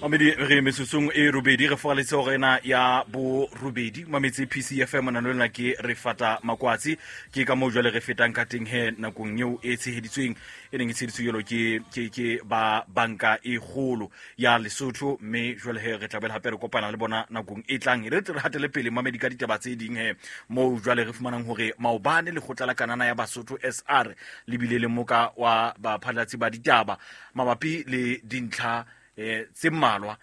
Mamedi re metsotsong e robedi re fogaletse gore ena ya borobedi mametse PCFM nano lena ke re fata makwatsi ke ka moo jwale re fetang ka teng he nakong eo e tsheheditsweng e neng e tsheheditswe jalo ke ba banka e kgolo ya Lesotho mme jwale he re tla hape re kopana le bona nakong e tlang. E re tle re hatele pele mamedi ka ditaba tse ding he moo jwale re fumanang hore maobane lekgotla la kanana ya Basotho SR le bile le moka wa baphatlalatsi ba ditaba mabapi le dintlha tse mmalwa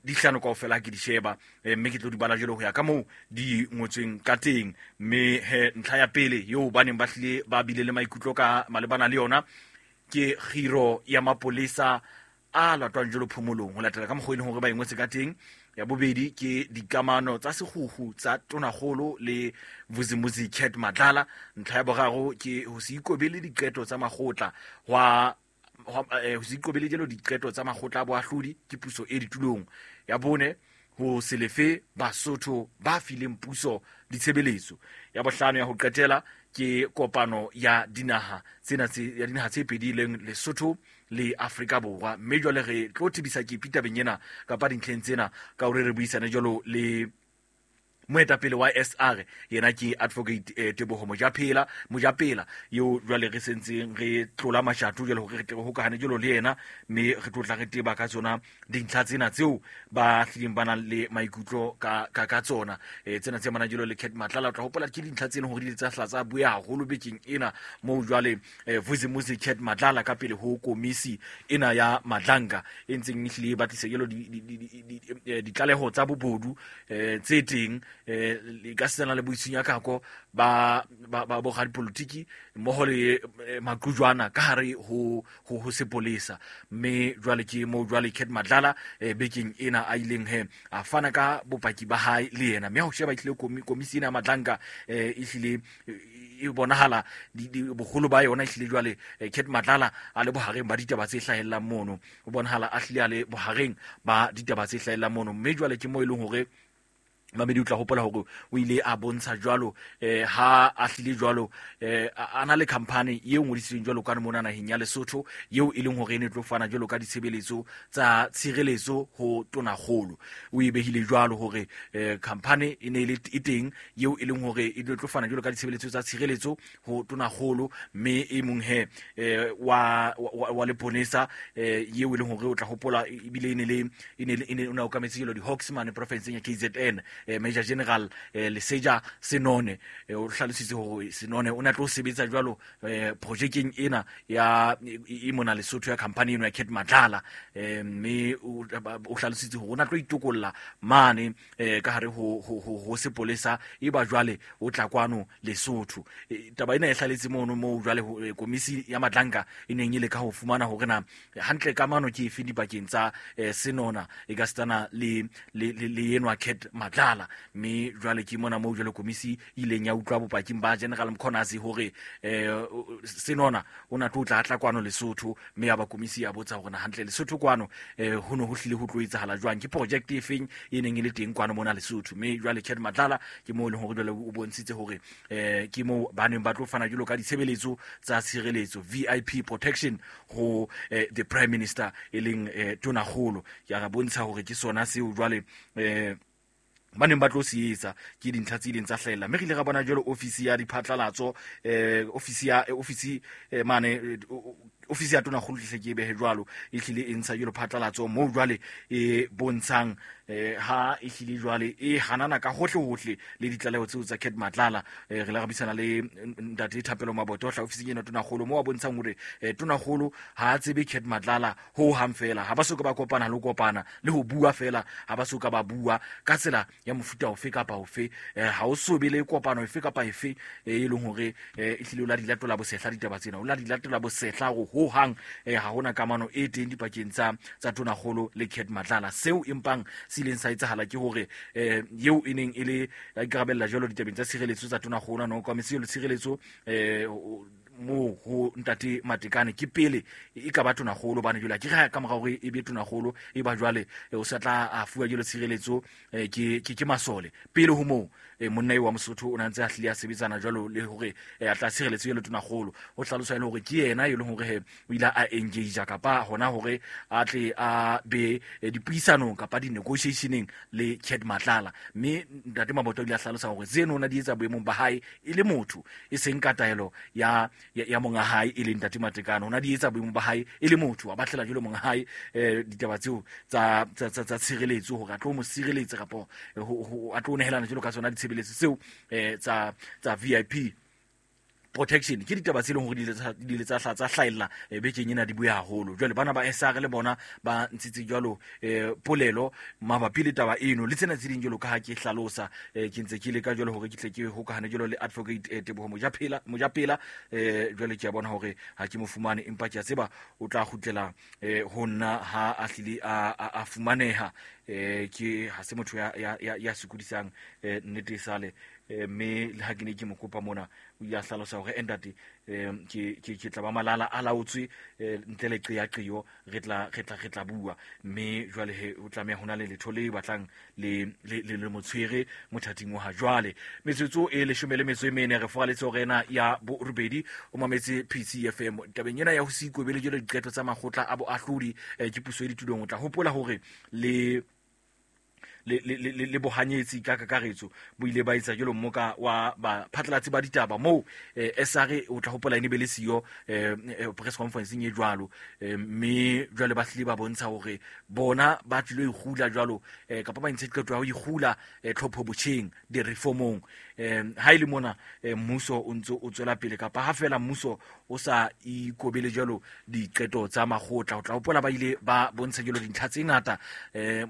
di hlano kaofela ke di sheba, mme ke tlo di bala jwalo ho ya ka moo di ngotsweng ka teng. Mme he ntlha ya pele eo ba neng ba hlile ba bile le maikutlo ka malebana le yona ke kgiro ya mapolesa a latwang jwalo phomolong ho latela ka mokgwa e leng hore ba e ngotse ka teng. Ya bobedi ke dikamano tsa sekgukgu tsa tonakgolo le Vusimuzi Cat Matlala. Ntlha ya boraro ke ho se ikobele diqeto tsa makgotla hwa ho se ikobele jalo diqeto tsa makgotla a boahlodi ke puso e ditulong. Ya bone, ho se lefe Basotho ba fileng puso ditshebeletso. Ya bohlano ya ho qetela ke kopano ya dinaha tsena tse ya dinaha tse pedi leng Lesotho le Afrika Borwa. Mme jwale re tlo tebisa kepi tabeng ena kapa dintlheng tsena ka hore re buisane jwalo le moetapele wa SR, yena ke Advocate Teboho Mojapela eo jwale re sentseng re tlola mashato jwale hore re tle re hokahane jwalo le yena, mme re tlo tla re teba ka tsona dintlha tsena tseo ba hlileng ba nang le maikutlo ka tsona. Tsena tse manang jwalo le Cat Matlala, o tla hopola ke dintlha tse leng hore di ile tsa hla tsa bua haholo bekeng ena moo jwale Vusimuzi Cat Matlala ka pele ho komisi ena ya Madlanga e ntseng e hlile e batlisa jwalo ditlaleho tsa bobodu tse teng ka setsana le boitshunyakako ba boradipolotiki mmoho le maqujwana ka hare ho sepolesa. Mme jwale ke moo jwale Cat Matlala bekeng ena a ileng he a fana ka bopaki ba hae le yena. Mme ha o sheba ehlile komisi ena ya Madlanga ehlile e bonahala boholo ba yona ehlile jwale Cat Matlala a le bohareng ba ditaba tse hlahellang mono, o bonahala a hlile a le bohareng ba ditaba tse hlahellang mono. Mme jwale ke moo e leng hore Mamedi o tla hopola hore o ile a bontsha jwalo ha a hlile jwalo a na le company eo ngodisitsweng jwalo ka mona naheng ya Lesotho eo e leng hore e ne tlo fana jwalo ka ditshebeletso tsa tshireletso ho tonakgolo. O e behile jwalo hore company e ne e le e teng eo e leng hore e tlo fana jwalo ka ditshebeletso tsa tshireletso ho tonakgolo, mme e mong he wa leponesa eo e leng hore o tla hopola ebile e ne le e ne o ne okametse jalo di-Hawks mane profinseng ya KZN, Major General Leseja Senone, o hlalositse hore Senone o ne a tlo sebetsa jwalo projekeng ena ya e mona Lesotho ya company eno ya Cat Matlala, mme o hlalositse hore o ne a tlo itokolla mane ka hare ho sepolesa e ba jwale o tla kwano Lesotho. Taba ena e hlaletse mono moo jwale komisi ya Madlanga e neng e le ka ho fumana hore na hantle kamano ke efe dipakeng tsa Senona e ka setsana le enwa Cat Matlala. Mme jwale ke mona moo jwale komisi e ileng ya utlwa bopaking ba General Mkhwanazi hore Senona o na tlo tla tla kwano Lesotho, mme ya ba komisi ya botsa hore na hantle Lesotho kwano ho ne ho hlile ho tlo etsahala jwang, ke project e feng e neng e le teng kwano mona Lesotho. Mme jwale Cat Matlala ke moo e leng hore jwale o bontshitse hore ke moo ba neng ba tlo fana jwalo ka ditshebeletso tsa tshireletso VIP protection ho the Prime Minister e leng tonakgolo. Ke a bontsha hore ke sona seo jwale ba neng ba tlo se etsa, ke dintlha tse ileng tsa hlahella. Mme re ile ra bona jwalo ofisi ya diphatlalatso, ofisi ya ofisi mane ofisi ya tonakgolo tle ke e behe jwalo e hlile e ntsha jwalo phatlalatso moo jwale e bontshang ha e hlile jwale e hanana ka hohle hohle le ditlaleho tseo tsa Cat Matlala. Re la re buisana le ntate Thapelo Maboto hla ofising ena tonakgolo moo a bontshang hore tonakgolo ha a tsebe Cat Matlala ho hang fela, ha ba soka ba kopana le ho kopana le ho bua fela, ha ba soka ba bua ka tsela ya mofuta ofe kapa ofe, ha o so be le kopano efe kapa efe e leng hore e hlile o la di latola bosehla ditaba tsena, o la di latola bosehla hore ho hang ha hona kamano e teng dipakeng tsa tonakgolo le Cat Matlala. Seo empang se ileng sa etsahala ke hore eo e neng e le a ikarabella jwalo ditabeng tsa tshireletso tsa tonakgolo, a no okametse jwalo tshireletso moo ho ntate Matekane ke pele e ka ba tonakgolo, hobane jwale ke re ka mora hore e be tonakgolo e ba jwale o sa tla a fuwa jwalo tshireletso ke masole. Pele ho moo monna eo wa Mosotho o ne a ntse a hlile a sebetsana jwalo le hore a tla tshireletswe le tonakgolo. O hlalosa e le hore ke yena e leng hore he o ile a engage kapa hona hore a tle a be dipuisanong kapa di-negotiationeng le Cat Matlala. Mme ntate Mabota o ile a hlalosa hore tseno o na di etsa boemong ba hae e le motho, e seng ka taelo ya monga hae e leng ntate Matekane. O na di etsa boemong ba hae e le motho, a batlela jwalo monga hae ditaba tseo tsa tshireletso hore a tlo mo sireletsa kapa a tlo nehelana jwalo ka tsona ditshebeletso tseo tsa VIP protection. Ke ditaba tse leng hore di ile tsa hlahella bekeng ena, di bue haholo. Jwale bana ba SR le bona ba ntshitse jwalo polelo mabapi le taba eno le tsena tse ding jwalo ka ha ke hlalosa. Ke ntse ke leka jwalo hore ke tle ke hokahane jwalo le Advocate Teboho Mojapela. Jwale ke a bona hore ha ke mo fumane, empa ke a tseba o tla kgutlela ho nna ha a hlile a fumaneha. Ke ha se motho ya sokodisang nnete sale. Mme le ha ke ne ke mo kopa mona, o ile a hlalosa hore ntate ke tla ba malala a laotswe ntle le qeaqeo, re tla bua. Mme jwale he o tlameha hona le letho le batlang le motshwere mothating wa ha jwale. Metsotso e 14 re foraletse hore ena ya borobedi o mametse PCFM tabeng ena ya ho se ikobele jwalo diqeto tsa makgotla a boahlodi ke puso e ditulong. O tla hopola hore le bohanyetsi ka kakaretso bo ile ba etsa jwalo mmoka wa baphatlalatsi ba ditaba moo SR o tla hopola ene be le siyo press conference e jwalo. Mme jwale ba hlile ba bontsha hore bona ba tlilo ikgula jwalo kapa ba ntse qeto ya ho ikgula tlhopho botjheng di reformong. Ha ile mona mmuso o ntse o tswela pele kapa ha fela mmuso o sa ikobele jwalo diqeto tsa makgotla. O tla hopola ba ile ba bontsha jwalo dintlha tse ngata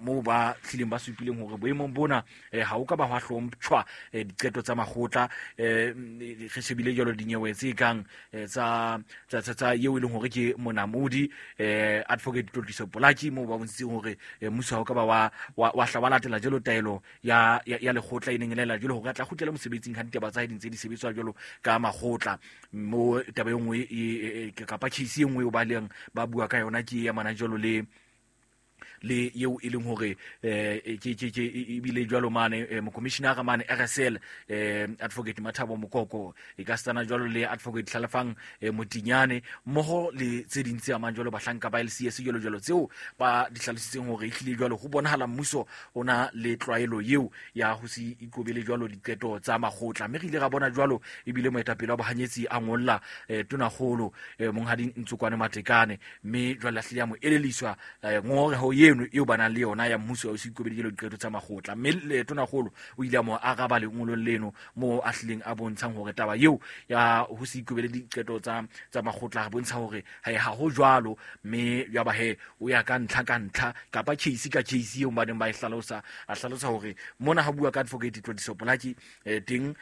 moo ba hlileng ba supileng hore boemong bona ha o ka ba hwa hlomptjhwa diqeto tsa makgotla. Re shebile jwalo dinyewe tse kang tsa eo e leng hore ke monamodi Advocate Tlotliso Polaki, moo ba bontshitseng hore mmuso ha o ka ba wa hla wa latela jwalo taelo ya lekgotla e neng e laela jwalo hore a tla kgutlela mosebetsing ha ditaba tsa hae di ntse di sebetswa jwalo ka makgotla. Mo taba e nngwe kapa case e nngwe eo ba leng ba bua ka yona ke ya mana jwalo le eo e leng hore ke ebile jwalo mane mokomishinara mane RSL Advocate Mathabo Mokoko, e ka stana jwalo le Advocate Hlalefang Motinyane mmoho le tse ding tse amang jwalo bahlanka ba LCS jwalo jwalo tseo ba di hlalositseng hore ehlile jwalo ho bonahala mmuso o na le tlwaelo eo ya ho se ikobele jwalo diqeto tsa makgotla. Mme re ile ra bona jwalo ebile moetapele wa bohanyetsi a ngolla tonakgolo monghadi Ntsokwane Matekane, mme jwale a hlile a mo eleliswa ngongoreho eno eo ba nang le yona ya mmuso ya ho se ikobele jwalo diqeto tsa makgotla. Mme tonakgolo o ile a mo araba lengolong leno moo a hlileng a bontshang hore taba eo ya ho se ikobele diqeto tsa makgotla a bontsha hore ha ho jwalo. Mme ya ba he o ya ka ntlha kapa case ka case eo ba neng ba e hlalosa, a hlalosa hore mona ha bua ka Advocate Tlotliso Polaki teng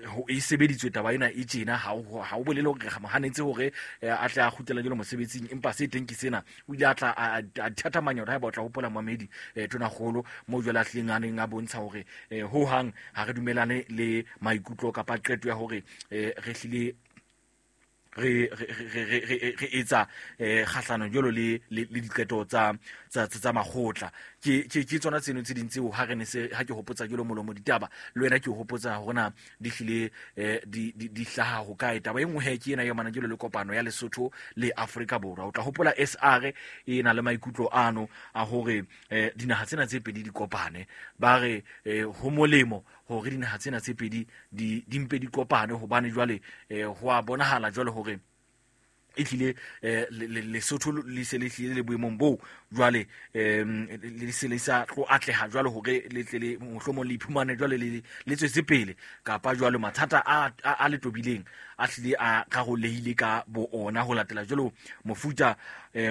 ho e sebeditswe taba ena e tjena, ha o bolele hore re mo hanetse hore a tle a kgutlela jwalo mosebetsing, empa se teng ke sena. O ile a tla a thathamanya hore haeba o tla hopola moamedi tonakgolo moo jwale a hlileng a neng a bontsha hore ho hang ha re dumelane le maikutlo kapa qeto ya hore re hlile re etsa kgahlano jwalo le diqeto tsa makgotla. Ke tsona tseno tse ding tseo ha re ne se ha ke hopotsa jwalo molomo ditaba le wena ke hopotsa hore na di hlile di hlaha ho kae. Taba e nngwe he ke ena ya mana jwalo le kopano ya Lesotho le Afrika Borwa. O tla hopola SR e na le maikutlo ano a hore dinaha tsena tse pedi di kopane, ba re ho molemo hore dinaha tsena tse pedi di mpe di kopane, hobane jwale ho a bonahala jwale hore e tlile Lesotho le se le tlile le boemong boo jwale le se le sa tlo atleha jwale hore le tle le mohlomong le iphumane jwale le tswetse pele, kapa jwale mathata a le tobileng a hlile a rarolehile ka bo ona ho latela jwalo mofuta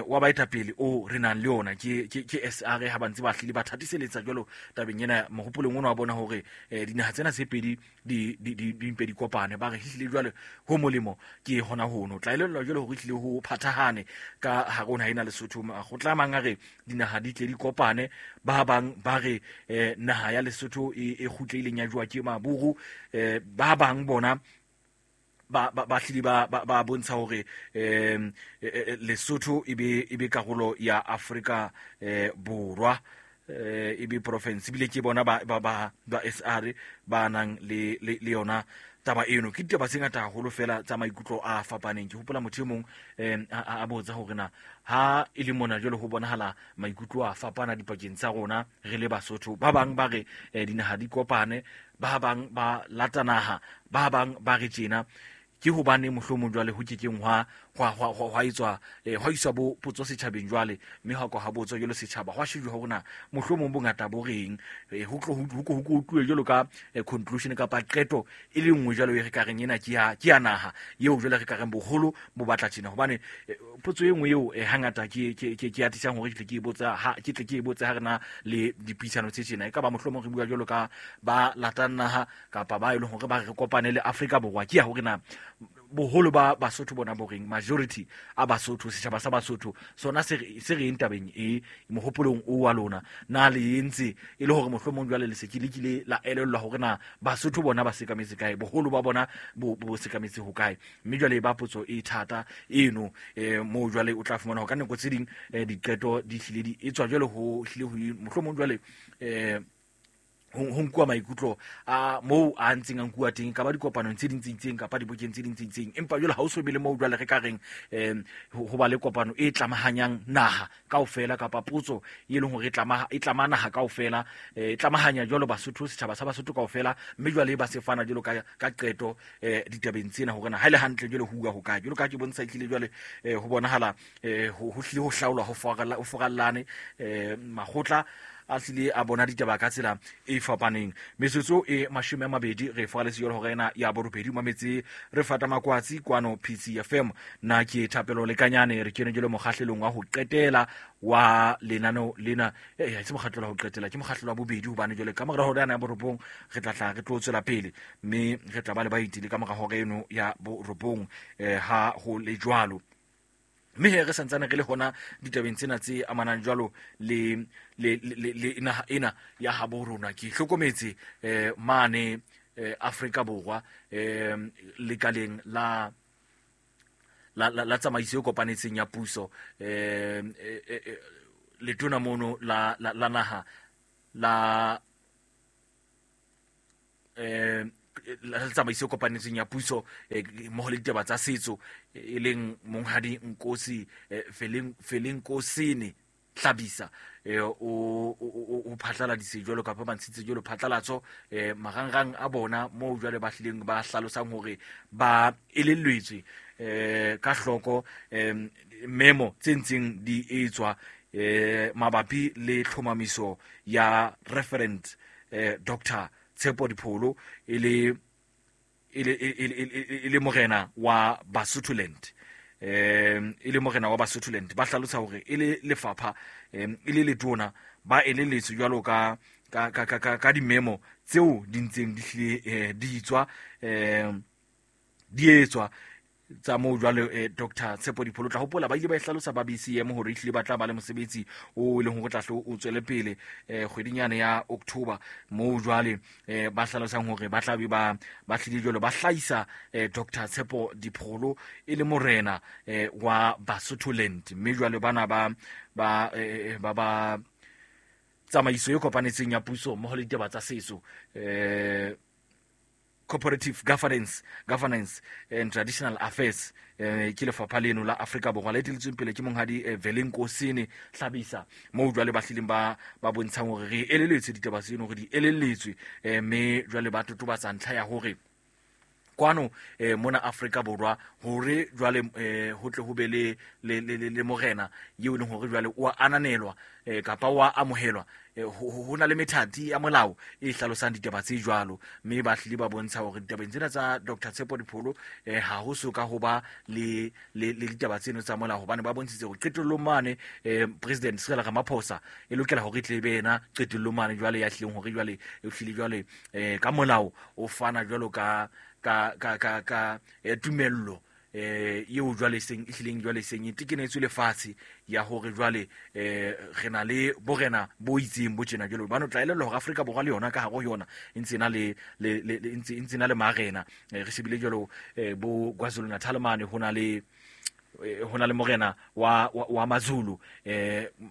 wa baetapele o re nang le ona. Ke SR ha ba ntse ba hlile ba thatiseletsa jwalo tabeng ena mohopolong ona wa bona hore dinaha tsena tse pedi di mpe di kopane, ba re hlile jwale ho molemo ke hona hono. Tla elellwa jwale hore hlile ho phathahane ka hare ho naha ena Lesotho. Makgotla a mang a re dinaha di tle di kopane, ba bang ba re naha ya Lesotho e kgutlehileng ya jowa ke maburu, ba bang bona ba hlile ba bontsha hore Lesotho e be karolo ya Afrika Borwa. e be province ebile ke bona ba ba ba ba SR ba nang le le yona taba eno. Ke ditaba tse ngata haholo fela tsa maikutlo a fapaneng. Ke hopola motho e mong a botsa hore na ha e le mona jwale ho bonahala maikutlo a fapana dipakeng tsa rona re le Basotho. Ba bang ba re dinaha di kopane, ba bang ba lata naha, ba bang ba re tjena. Ke hobane mohlomong jwale ho kekeng hwa etswa hwa iswa bo potso setjhabeng jwale, mme hwa kwa ha botswa jwalo setjhaba, hwa shejwa hore na mohlomong bongata bo reng, ho tlo ho tluwe jwalo ka conclusion kapa qeto e le nngwe jwalo e re ka reng ena ke ya naha eo jwale re ka reng boholo bo batla tjena. Hobane potso e nngwe eo hangata ke atisang hore ke tle ke e botsa ha ke tle ke e botse ha re na le dipuisano tse tjena, e ka ba mohlomong re bua jwalo ka ba latang naha kapa ba e leng hore ba re kopane le Afrika Borwa, ke ya hore na boholo ba Basotho bona bo reng, majority a Basotho, setjhaba sa Basotho sona se reng tabeng e mohopolong o wa lona. Na le entse e le hore mohlomong jwale le se ke lekile la elellwa hore na Basotho bona ba sekametse kae, boholo ba bona bo sekametse ho kae. Mme jwale ba potso e thata eno moo jwale o tla fumana hore ka nako tse ding diqeto di hlile di etswa jwale ho hlile ho mohlomong jwale ho nkuwa maikutlo a moo a ntseng a nkuwa teng, ka ba dikopanong tse ding tse itseng kapa dibokeng tse ding tse itseng. Empa jwale ha o so be le moo jwale re ka reng ho ba le kopano e tlamahanyang naha kaofela kapa potso e leng hore e tlama naha kaofela, e tlamahanya jwalo Basotho, setjhaba sa Basotho kaofela, mme jwale ba se fana jwalo ka qeto ditabeng tsena hore na ha ele hantle jwale ho uwa ho kae. Jwalo ka ke bontsha ehlile jwale ho bonahala ho hlile ho hlaolwa ho forallane makgotla a hlile a bona ditaba ka tsela e fapaneng. Metsotso e 20 re foraletse jwalo hore ena ya borobedi mametse re fata makwatsi kwano PCFM. Nna ke Thapelo Lekanyane, re kene jwalo mokgahlelong wa ho qetela wa lenaneo lena. Ha se mokgahlelo wa ho qetela, ke mokgahlelo wa bobedi, hobane jwale ka mora hora ya borobong re tla tla re tlo tswela pele, mme re tla ba le baeti le ka mora hora eno ya borobong ha ho le jwalo. Mme he re santsane re le hona ditabeng tsena tse amanang jwalo le naha ena ya habo rona. Ke hlokometse mane Afrika Borwa lekaleng la tsamaiso e kopanetseng ya puso, letona mono la naha la la tsamaiso e kopanetseng ya puso mmoho le ditaba tsa setso, e leng monghadi Nkosi Velenkosini Hlabisa, o phatlaladitse jwalo kapa ba ntshitse jwalo phatlalatso marangrang a bona moo jwale ba hlileng ba hlalosang hore ba elellwetswe ka hloko memo tse ntseng di etswa mabapi le tlhomamiso ya Reverend Dr. Tshepo Dipholo e le morena wa Basotholand. E le morena wa Basotholand. Ba hlalosa hore e le lefapha e le letona ba eleletswe jwalo ka dimemo tseo di ntseng di hlile di tswa di etswa tsa moo jwale Dr. Tshepo Dipholo. Tla hopola ba ile ba e hlalosa ba BCM hore ehlile ba tla ba le mosebetsi o leng hore tla hlo o tswele pele kgwedinyana ya October, moo jwale ba hlalosang hore ba tla be ba hlile jwalo ba hlahisa Dr. Tshepo Dipholo e le morena wa Basotholand. Mme jwale bana ba ba tsamaiso e kopanetseng ya puso mmoho le ditaba tsa setso, Cooperative Governance and Traditional Affairs, ke lefapha leno la Afrika Borwa le eteletsweng pele ke monghadi Velenkosini Hlabisa, moo jwale ba hlileng ba bontshang hore re eleletswe ditaba tseno, hore di eleletswe, mme jwale ba totobatsa ntlha ya hore kwano mona Afrika Borwa hore jwale ho tle ho be le morena eo e leng hore jwale o a ananelwa kapa o a amohelwa, ho na le methati ya molao e hlalosang ditaba tse jwalo. Mme ba hlile ba bontsha hore ditabeng tsena tsa Dr. Tshepo Dipholo ha ho so ka ho ba le ditaba tseno tsa molao, hobane ba bontshitse hore qetellong mane President Cyril Ramaphosa e lokela hore e tle be yena qetellong mane jwale ya hlileng hore jwale e hlile jwale ka molao o fana jwalo ka tumello eo jwale seng e hlileng jwale seng e tekenetswe lefatshe ya hore jwale re na le borena bo itseng bo tjena jwale. Hobane o tla elellwa hore Afrika Borwa le yona ka hare ho yona e ntse na le ntse na le marena. Re shebile jwalo bo KwaZulu-Natal mane ho na le Ho na le morena wa Mazulu,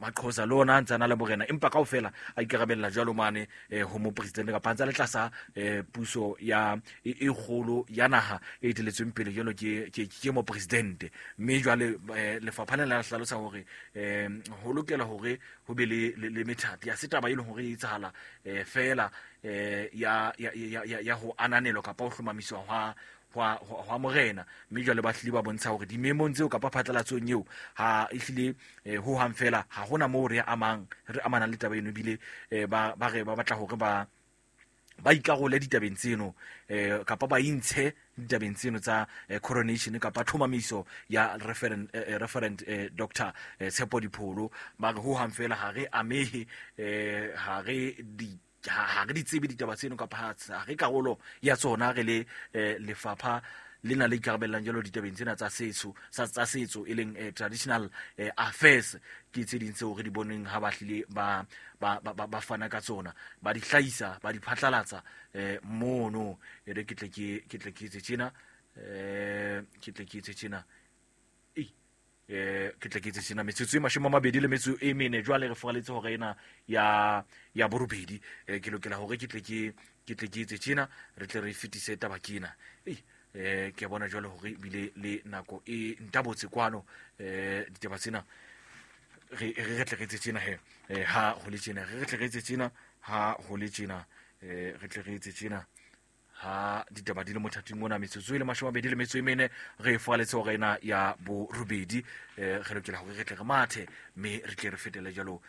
Maqhosa le ona a ntse a na le morena, empa kaofela a ikarabella jwalo mane ho mopresidente kapa a ntse a le tlasa puso ya e kgolo ya naha e eteletsweng pele jwalo ke mopresidente. Mme jwale lefapha lena la hlalosa hore ho lokela hore ho be le methati ya se taba e leng hore e etsahala feela ya ho ananelwa kapa ho hlomamiswa hwa morena. Mme jwale ba hlile ba bontsha hore dimemong tseo kapa phatlalatsong eo ha ehlile ho hang fela ha hona moo re amanang le taba eno, ebile ba re ba batla hore ba ikarole ditabeng tseno kapa ba intshe ditabeng tseno tsa coronation kapa tlhomamiso ya referent Dr. Tshepo Dipholo. Ba re ho hang fela ha re amehe, ha re di tsebe ditaba tseno kapa ha re karolo ya tsona, re le lefapha lena le ikarabellang jalo ditabeng tsena tsa setso tsa setso e leng traditional affairs. Ke tse ding tseo re di boneng ha ba hlile ba fana ka tsona, ba di hlahisa, ba di phatlalatsa mono. E re ke tle ke etse tjena, ke tle ke etse tjena, ke tle ke etse tjena. Metsotso e 24 jwale re foraletse hore ena ya borobedi. Ke lokela hore ke tle ke etse tjena, re tle re fetise taba kena. Ke bona jwale hore ebile le nako e ntabotse kwano, ditaba tsena re tle re etse tjena he, ha ho le tjena, re tle re etse tjena, ha ho le tjena, re tle re etse tjena ha ditaba di le mothating ona. Metsotso e le 24 re foraletse hore ena ya borobedi. Re lokela hore re tle re mathe mme re tle re fetele jalo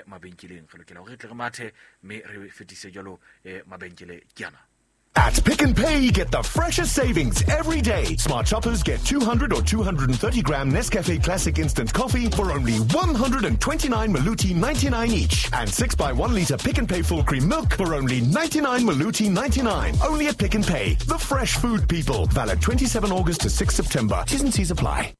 mabenkeleng. Re lokela hore re tle re mathe mme re fetise jalo mabenkele ke ana. At Pick n Pay, get the freshest savings every day. Smart shoppers get 200 or 230 gram Nescafe Classic Instant Coffee for only 129 Maluti 99 each. And 6x1 litre Pick n Pay full cream milk for only 99 Maluti 99. Only at Pick n Pay, the fresh food people. Valid 27 August to 6 September. T's and C's apply.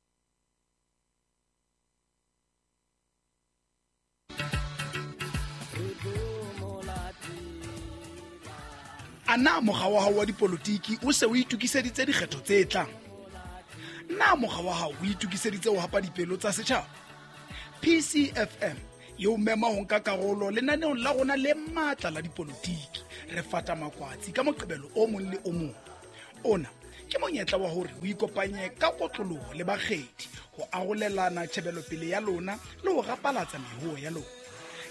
Ana mokga wa hao wa dipolotiki o se o itokiseditse dikgetho tse tlang? Na mokga wa hao o itokiseditse ho hapa dipelo tsa setjhaba? PCFM e o mema ho nka karolo lenaneong la rona le matla la dipolotiki. Re fata makwatsi ka Moqebelo o mong le o mong. Ona ke monyetla wa hore o ikopanye ka kotloloho le bakgethi ho arolelana tjhebelopele ya lona le ho rapalatsa mehoho ya lona.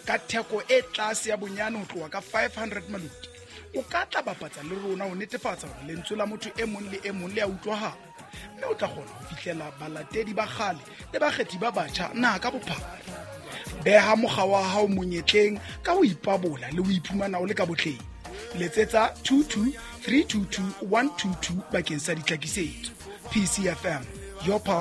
Ka theko e tlase ya bonyane ho tloha ka 500 maluti, o ka tla bapatsa le rona ho netefatsa hore lentswe la motho e mong le e mong le a utlwahala, mme o tla kgona ho fihlela balatedi ba kgale le bakgethi ba batjha naha ka bophara. Beha mokga wa hao monyetleng ka ho ipabola le ho iphumana o le ka botleng. Letsetsa 22 322 122 bakeng sa ditlhakisetso. PCFM, your pulse.